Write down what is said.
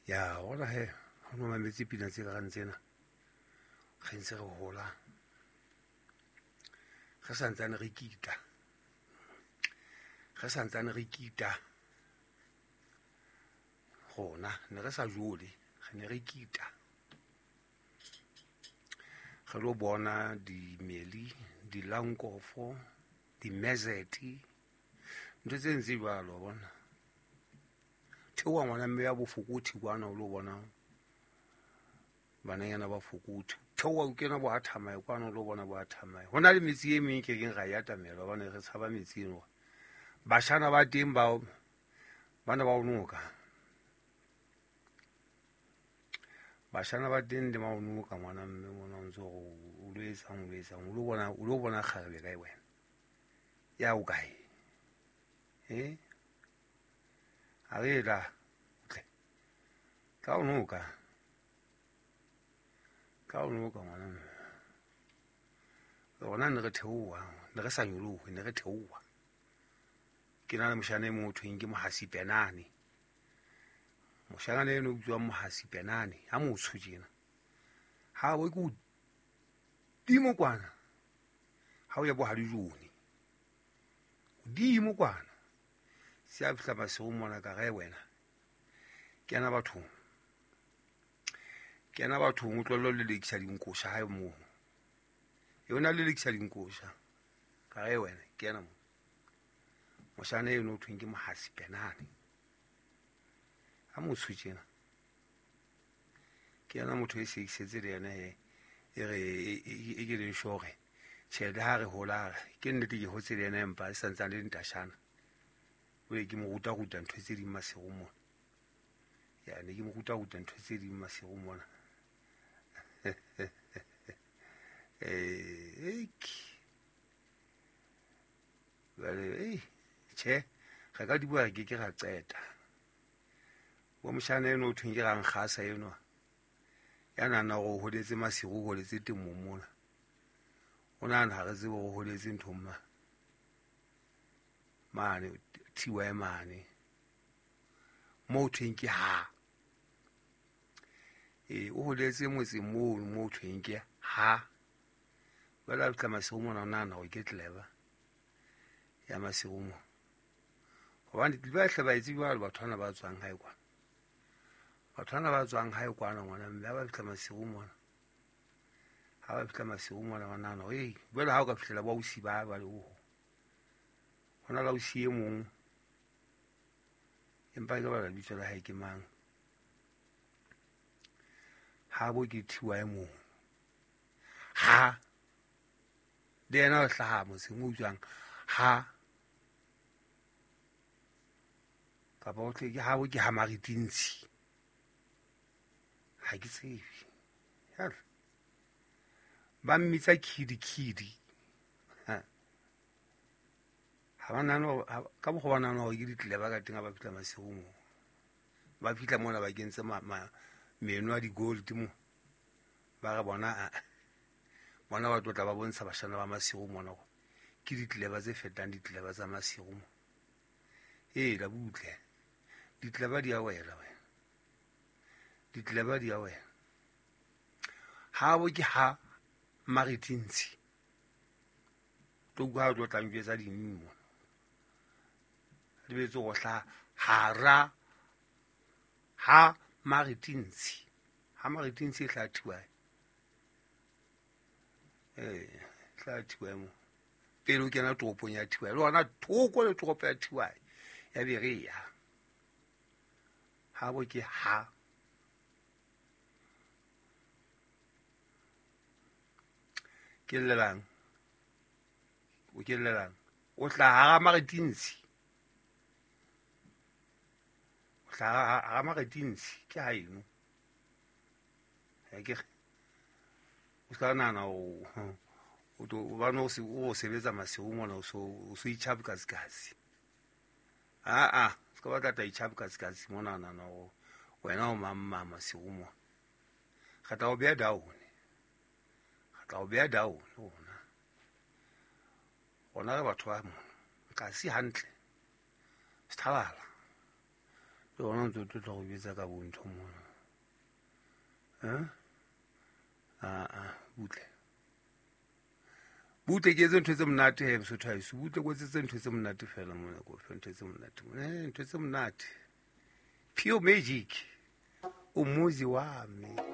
Ya bona he, ha o mametse pina tse kareng tsena, re ntse re hola, re santsane re kita, re santsane re kita rona, ne re sa jole, re ne re kita, re lo bona dimeli, dilankofo, dimezeti, ntho tse ntse jwalo, bona. Theoha ngwana mme ya bofokothi kwana o lo bona bananyana ba fokothi. Theoha o kena bo ha Thamae kwana o lo bona bo ha Thamae. Ho na le metsi e meng ke keng ra e atamela hobane re tshaba metsi eno. Bashana ba teng ba bana ba o noka. Bashana ba teng le ba o noka ngwana mme mona o ntse o lo etsang, o lo etsang, o lo bona, o lo bona kgarebe kae wena? Ya o kae? Eh? A re la tle. Tla o noka. Tla o noka ngwana mme. Rona ne re theoha, ne re sa nyolohe, ne re theoha. Ke na le moshana e mong ho thweng ke Mohasi Penane. Moshana eno o bitswang Mohasi Penane, ha motsho tjena. Ha bo ke hodimo kwana. Ha o ya bo Hadijone. Hodimo kwana. Se a fihla masigo mona ka gae wena. Kena bathong. Kena bathong o tlohelle ho lelekisa dinkosha hae moo. Yona lelekisa dinkosha. Ka gae wena, kena mo. Moshana eno o thweng ke Mohasi Penane. Ha motsho tjena. Ke yena motho e sekisetse le yena he. E re e ke le shore. Tjhe, le ha re hola, ke nnete ke hotse le yena empa e santsane le ntashana. O ye ke mo ruta-ruta ntho tse ding masigo mona. Ya, ne ke mo ruta-ruta ntho tse ding masigo mona. Jwale, tjhe, re ka di bua re ke ke ra qeta. Bo moshana eno o thweng ke Rankgasa enwa. Ya nahana hore o holetse masigo, o holetse temong mona. O nahana ha re tsebe hore o holetse nthong ma. Mane, TY mane. Moo thweng ke ha. O holetse motseng moo, moo thweng ke ha. Jwale ha fihla masigo mona, o nahana hore ke clever ya masigo mona. Hobane ba hle ba etse jwalo batho bana ba tswang hae kwana. Batho bana ba tswang hae kwana ngwana mme ha ba fihla masigo mona. Ha ba fihla masigo mona ba nahana hore, ei, jwale ha o ka fihlela bo ausi ba ba le ho. Hona le ausi e mong. Empa ke bala lebitso la hae ke mang? Ha bo ke TY mong. Ha le yena o hlaha motseng o utswang ha kapa o tle ke ha bo ke ha Maritintshi. Ha ke tsebe. Hell. Ba mmitsa Kidi Kidi. Ha. Ha ba nahane hore, ha, ka mokgwa ba nahana hore ke ditleleba ka teng ha ba fihla masigo moo. Ba fihla mona ba kentse meno a di-gold mo. Ba re bona, a, bona ba tlotla ba bontsha bashana ba masigo mona hore ke ditleleba tse fetang ditleleba tsa masigo mo. Ee, la butle. Ditleleba di a wela wena. Ditleleba di a wela. Ha bo ke ha Maritintshi. Tlo utlwa ha o tlo tla njwetsa ding mona. Lebetse go hlaha hara ha Maritintshi. Ha Maritintshi e hlaha TY. Hlaha TY mo. Pele o kena toropong ya TY. Le hona thoko le toropo ya TY. Ya Berea. Ha bo ke ha. Ke llelang? O ke llelang? O hlaha hara Maritintshi. O hlaha hara Maritintshi ke ha eno. Ha ke re. O ska nahana o, o tlo, o bane o se, o sebetsa masigo mona, o so, o so itjhapukatsikatsi. Ah, ah, se ka batla tla itjhapukatsikatsi mona, nahana hore wena o mang mang masigo mona. Re tla o beha down. Re tla o beha down rona. Rona re batho ba mona. Kasi hantle. Sethalala. Le gona ntse o tlotla go betsa ka bontho mona. Eh? Aa, butle. Butle ke etse ntho tse monate he Mosotho haeso. Butle ko etsetse ntho tse monate fela mona ko fe ntho tse monate mona. Eh, ntho tse monate. Pure magic. O muzi wa me.